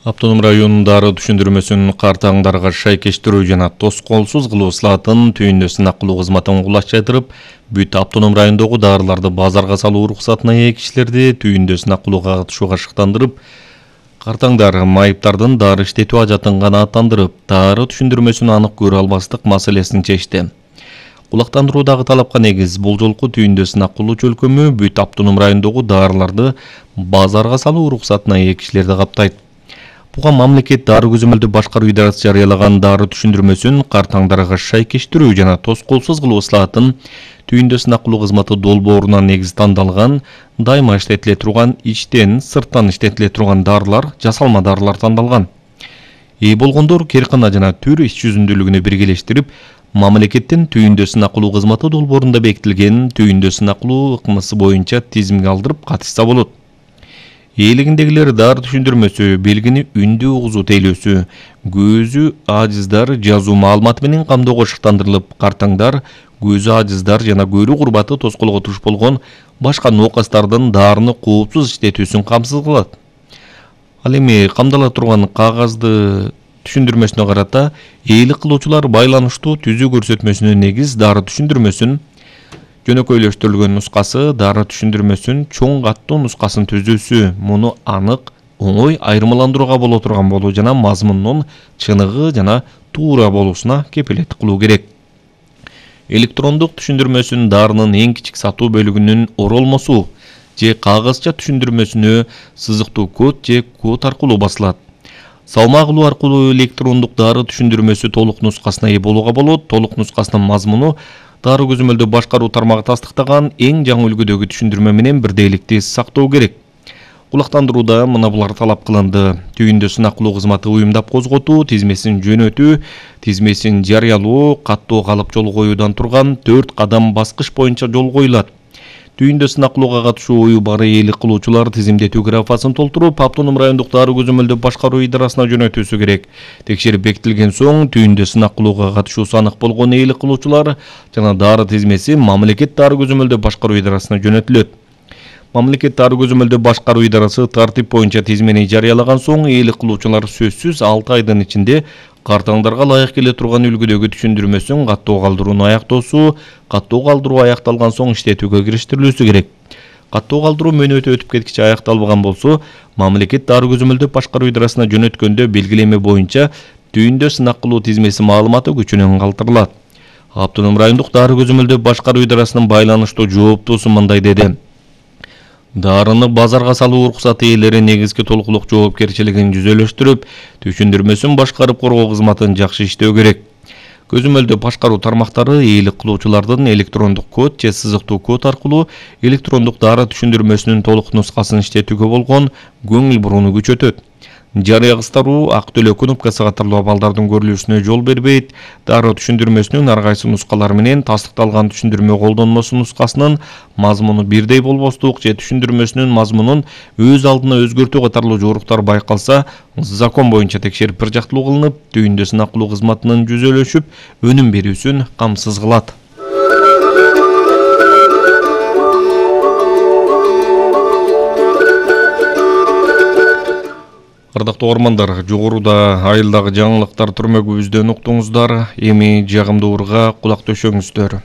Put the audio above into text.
Автоном районунун дары түшүндүрмөсүн картаңдарга шайкештирүү жана тоскоолсуз кылуу слатын түйүндө сынак кылуу кызматын кулачтырып, бүт автоном райондогу дарыларды базарга салуу уруксатына ээ кишилерди түйүндө сынак кылууга катышууга шыктандырып, картаңдар майыптардын дары иштетүү ажатын канааттандырып, дары түшүндүрмөсүн анык көрө албастык маселесин чечти. Кулактандыруудагы талапка негиз бул жолку түйүндө сынак кылуу чөлкөмү бүт автоном райондогу дарыларды базарга салуу уруксатына ээ кишилерди каптайт. Буга мамлекет дары көзөмөлдү башкаруу идарасы жарыялаган дары түшүндүрмөсүн картаңдарга шайкештирүү жана тоскоолсуз кылуу слатын түйүндө сынак кылуу кызматы долбоорунан негиз тандалган, дайыма иштетиле турган, ичтен, сырттан иштетиле турган дарылар, жасалма дарылар тандалган. Ээ болгондор кээркана жана түр иш жүзүндүүлүгүнө биргелештирип, мамлекеттин түйүндө сынак кылуу кызматы долбоорунда бекитилген түйүндө сынак кылуу ыкмасы боюнча тизимге алдырып катышса болот. Ээлигиндегилер дары түшүндүрмөсү, белгини үндүү угузуу тейлөөсү, көзү ажыздар жазуу маалыматы менен камдоого шыктандырылып, картаңдар көзү ажыздар жана көрүү курбаты тоскоолго туш болгон башка ноокастардын дарыны коопсуз иштетүүсүн камсыз кылат. Ал эми камдала турган кагазды түшүндүрмөсүнө карата ээлик кылуучулар байланыштуу түзүү көрсөтмөсүнө негиз дары түшүндүрмөсүн жөнөкөйлөштүрүлгөн нускасы, дары түшүндүрмөсүн чоң каттуу нускасын түзүүсү, муну анык, оңой айырмаландырууга боло турган болуу жана мазмунунун чыныгы жана туура болуусуна кепилеттик кылуу керек. Электрондук түшүндүрмөсүн дарынын эң кичик сатуу бөлүгүнүн оролмосу же кагазча түшүндүрмөсүнө сызыктуу код же код аркылуу басылат. Салмак алуу аркылуу электрондук дары түшүндүрмөсү толук нускасына ээ болууга болот. Толук нускасынын мазмуну дары көзөмөлдү башкаруу тармагы тастыктаган эң жаңы үлгүдөгү түшүндүрмө менен бирдейликти сактоо керек. Кулактандырууда мына булар талап кылынды. Түйүндө сынак кылуу кызматы уюмдап козготуу, тизмесин жөнөтүү, тизмесин жарыялоо, каттоо калып жол коюудан турган 4 кадам баскыч боюнча жол коюлат. Түйүндө сынак кылууга катышуу ою бар ээлик кылуучулар тизимдетүү графасын толтуруп, автоном райондук дары көзөмөлдү башкаруу идарасына жөнөтүүсү керек. Текшерип бекитилген соң, түйүндө сынак кылууга катышуусу анык болгон ээлик кылуучулар жана дары тизмеси мамлекет дары көзөмөлдү башкаруу идарасына жөнөтүлөт. Мамлекет дары көзөмөлдү башкаруу идарасы тартип боюнча тизмени жарыялаган соң, ээлик кылуучулар сөзсүз 6 айдын ичинде картаңдарга ылайык келе турган үлгүдөгү түшүндүрмөсүн каттоо калдырууну аяктоосу, каттоо калдыруу аякталган соң иштетүүгө кириштирилүүсү керек. Каттоо калдыруу мөөнөтү өтүп кеткиче аякталбаган болсо, мамлекет дары көзөмөлдү башкаруу идарасына жөнөткөндө белгилеме боюнча түйүндө сынак кылуу тизмеси маалыматы күчүнөн калтырылат. Автоном райондук дары көзөмөлдү башкаруу идарасынын байланыштуу жооптуусу мындай деди. Дарыны базарга салуу уруксаты ээлери негизги толугулук жоопкерчилигин жүзөлөштүрүп, түшүндүрмөсүн башкарып коргоо кызматын жакшы иштөө керек. Көзөмөлдү башкаруу тармактары ээлик кылуучулардын электрондук код же сызыктуу код аркылуу электрондук дары түшүндүрмөсүнүн толук нускасын иштетүүгө болгон көңүл бурууну күчөтөт. Жарыя кыстаруу, ак төлөө кнопкасы катарлуу абалдардын көрүлүүсүнө жол бербейт. Дары түшүндүрмөсүнүн ар кайсы нускалары менен тастыкталган түшүндүрмө колдонмосу нускасынын мазмуну бирдей болбостук же түшүндүрмөсүнүн мазмунун өз алдына өзгөртүү катарлуу жоруктар байкалса, закон боюнча текшерип бир жактылуу кылынып, түйүндө сынак кылуу кызматынын жүзөлөшүп, өнүм берүүсүн камсыз кылат. Ардактуу угармандар, жогоруда айылдагы жаңылыктар түрмөгүбүздөн уктуңуздар. Эми жагымдуу урга кулак төшөңүздөр.